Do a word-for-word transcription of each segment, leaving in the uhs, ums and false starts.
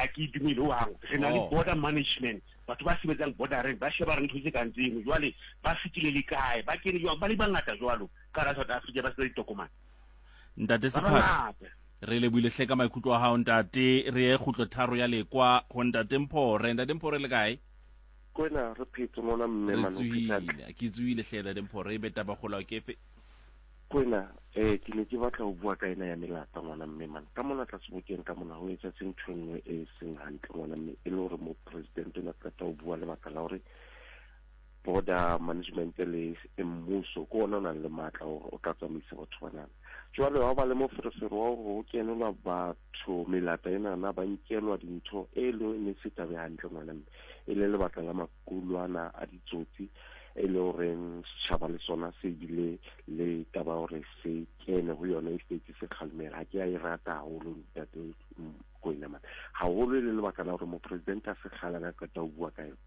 Ha ke dumele ho hang. Re na le Oh. border management, batho ba sebetsang bordereng ba sheba re ntho tse kang tseno. Jwale ba fetile le kae, ba kene jwang, ba le bangata jwalo ka hara South Africa ba sena ditokomane. Ntate Ba Sephaka, bangata. Re lebohile hle ka maikutlo a hao, ntate. Re ye kgutlo tharo ya lekwa ho ntate Mphore. Ntate Mphore, le kae? Kwena, re phetse ngwana mme. Re Mane o phetse hantle. tsohile, ke tsohile hle, ntate Mphore. E be taba kgolo ke efe? Kwena, eh ke ne ke batla ho bua ka ena ya melata, ngwana mme. Mane ka mona tlase bokeng ka mona ho etsahetse ntho e nngwe e seng hantle, ngwana mme, e le hore mo president o ne a qeta ho bua lebaka la hore border management le mmuso ke ona o nang le matla hore o tla tsamaisa batho banana. Jwale ha ba le moferefere wa hore ho kenelwa batho melata enana, ba nkelwa dintho e le ne se tabe hantle, ngwana mme, e le lebaka la makulwana a ditsotsi, e le horeng setjhaba le sona se bile le taba ya hore se kene ho yona e setse se kgalemela. Ha ke a e rata haholo, ntate Koena man, haholo e le lebaka la hore mopresidente a se kgale a qeta ho bua ka yona.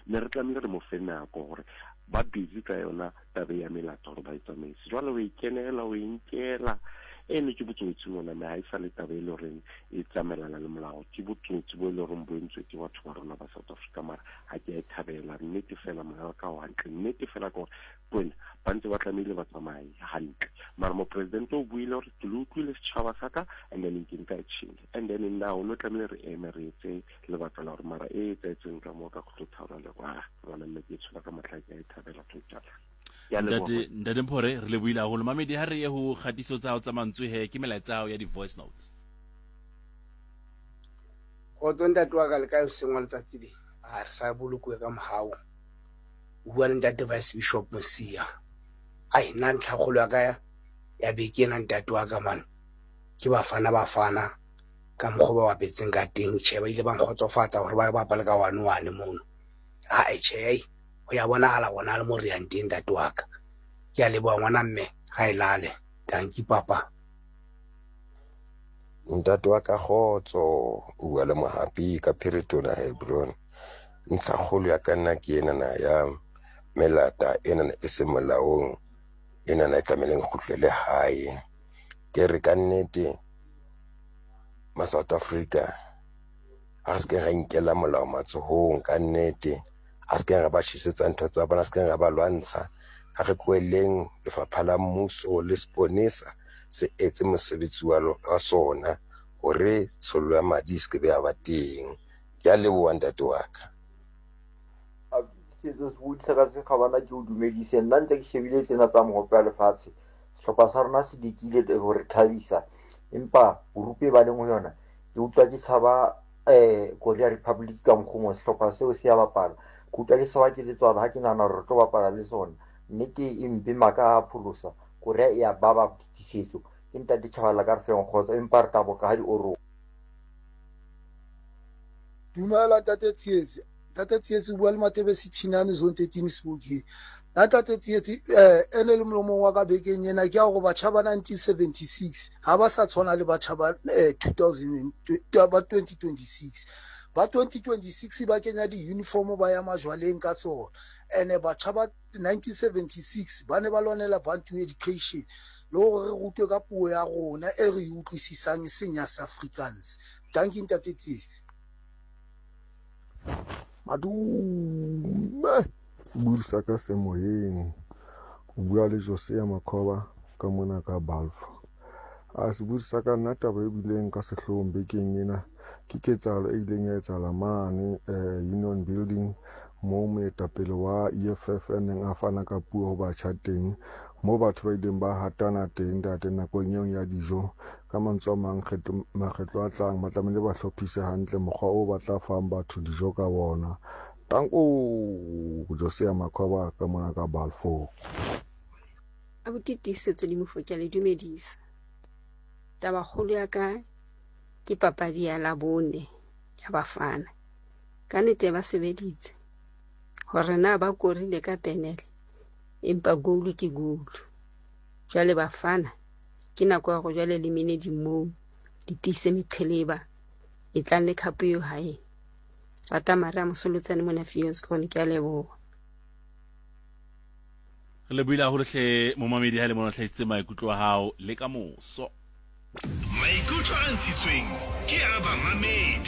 Ne re tlamehile re mo fe nako hore ba busy ka yona tabe ya melata hore ba e tsamaise. Jwale o e kenela, o e nkela ene, ke botsotsi ngwana mme. Ha e sa le taba e le horeng e tsamaelana le molao, ke botsotsi bo e le horeng bo entswe ke batho ba rona ba South Africa. Mara ha ke a e thabela, nnete fela. Moya wa ka o hantle, nnete fela, ke hore kwena ba ntse ba tlamehile ba tsamaye hantle. Mara mopresidente o buile hore ke le utlwile setjhaba sa ka, and then ke nka action, and then now no tlamehile re eme re etse lebaka la hore mara e etsahetseng ka moo ka kgutlo le kwa, ngwana mme, ke e tshola ka matla, ke a e thabela total. Ke a leboha. Ntate, ntate Mphore, re lebohile haholo. Mamedi, ha re ye ho kgatiso tsa hao tsa mantswe he, ke melaetsa ya hao ya di-voice notes. Kgotso ntate wa ka, le kae hoseng wa letsatsi le? A re sa bolokuwe ka mohau. O bua le ntate Vice Bishop Mosia. Ai, nna ntlhakgolo ya ka ya beke ena, ntate wa ka man, ke Bafana Bafana ka mokgwa o ba bapetseng ka teng. Tjhe, ba ile ba nkgotsofatsa hore ba bapale ka one one mono. Ae tjhe, ai ho ya bonahala bona le mo re yang teng, ntate wa ka. Ke a leboha ngwana mme, ha e lale. Dankie papa. Ntate wa ka, kgotso. O bua le Mohapi ka Phiritona, Hebron. Ntlhakgolo ya ka nna ke enana ya melata enana e seng molaong, enana e tlamehileng e kgutlele hae. Ke re ka nnete ma South Africa a re se ra inkela molao matsohong. Ka nnete a se ra ba tjhesetsa ntho tsa bona, a se ra ba lwantsha. A re tlohelleng lefapha la mmuso le seponesa se etse mosebetsi wa wa sona hore tshollo ya madi e se ke be ya ba teng. Ke a leboha, ntate wa ka. Setso se bodisa ka sekgabana, ke o dumedise. Nna ntse ke shebile tsena tsa mohope wa lefatshe, sehlopha sa rona se lekile ho re thabisa, empa group e ba leng ho yona ke utlwa ke tshaba um Korea Republic. Ka mokgwa mo sehlopha seo se ya bapala, ke utlwa ke tshaba, ke letswalo ha ke nahana hore re tlo bapala le sona. Nnete e mpe, maka a pholosa Korea e ya baba tiisetso. Ke ntate Tjhabala ka re feng kgotso, empa re tla boka ha di oroha. Dumela ntate Tsietsi. Ntate Tsietsi, o bua le Matebesi Thinane, Zone thirteen, Sebokeng. Nna ntate Tsietsi, eh ene le molomong wa ka bekeng ena ke ya hore batjha ba nineteen seventy-six ha ba sa tshwana le batjha ba eh, two thousand ba twenty twenty-six. Ba twenty twenty-six ba kenya di-uniform, ba ya majwaleng ka tsona. Ene batjha ba nineteen seventy-six ba ne ba lwanela Bantu education le hore re rutwe ka puo ya rona e re e utlwisisang, e seng ya Afrikaans. Dankie ntate Tsietsi. Madume, sebodi sa ka se moyeng. O bua le Josea Makhoba ka mona ka Balfour. A sebodi sa ka, nna taba e bileng ka sehloohong bekeng ena ke ketsahalo e ileng ya etsahala mane eh, Union Building, moo moetapele wa E F F a neng a fana ka puo ho batjha teng, moo batho ba ileng ba hatana teng, ntate, nakong eo ya dijo. Ka mantswe a mang, makgetlo a tlang ba tlamehile ba hlophise hantle mokgwa o ba tla fang batho dijo ka bona. Tanko, Josea Makhoba ka mona ka Balfour. Abuti Tiisetso le Mofo, ke a le dumedisa. Tabakgolo ya ka ke papadi ya Labone ya Bafana. Ka nnete ba sebeditse hore na ba korile ka penele, empa goal ke goal. Jwale Bafana, ke nako ya hore jwale le mene di moo le tiise meqheleba e tlang le cup eo hae. Rata mare a Mosolotsane mona Viljoenskroon, ke a leboha. Re lebohile haholo hle, momamedi, ha le mona hlahisitse maikutlo a hao. Le ka moso. Maikutlo a ntshitsweng ke a bamamedi.